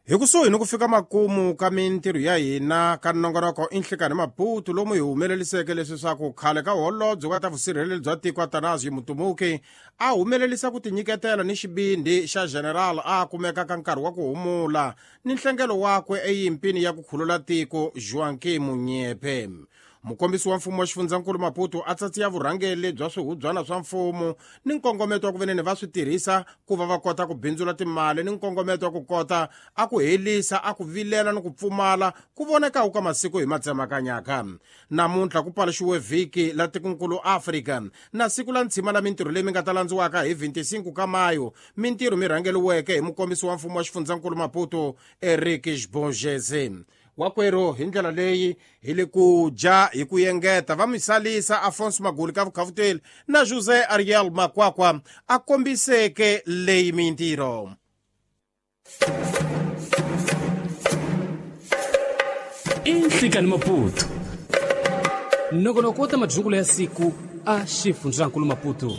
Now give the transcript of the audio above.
Hi kusuhi ni ku fika makumu ka mintirho ya hina ka nongonoko i Nhlikani Maputo, lomu hi humeleliseke leswi swa ku khale ka holobye wa ta vusirheleri bya tiko Atanasio Mutumuki a humelerisa ku tinyiketela ni xibindi xa general a kumeka ka nkarhi wa ku humula ni nhlengelo wakwe eyimpini ya ku khulula tiko Joaquim Munyepe. Mukombisi wa mfumo wa xifundzankulu Maputo a tsatsiya vurhangeri bya swihubyana swa mfumo ni nkongometo wa ku veneni va swi tirhisa ku va va kota ku bindzula timali ni nkongometo wa ku kota a ku helisa a ku vilela ni ku pfumala ku vonekaku ka masiku hi matsemakanyaka. Namuntlha ku paluxiwe vhiki la tikonkulu Afrika na siku la ntshima la mintirho leyi mi nga ta landziwaka hi 25 ka Mayo, mintirho mi rhangeriweke hi mukombisi wa mfumo wa xifundzankulu Maputo Eric Xibongeze. Wakwerhu hi ndlela leyi hi le ku dya hi ku yengeta va misalisa Afonso Maguli ka vukhavuteli na José Ariel Makwakwa a kombiseke leyi mintirho. Inhlikani Maputo, nongonoko wa ta madyungulo ya siku a xifundzankulu Maputo.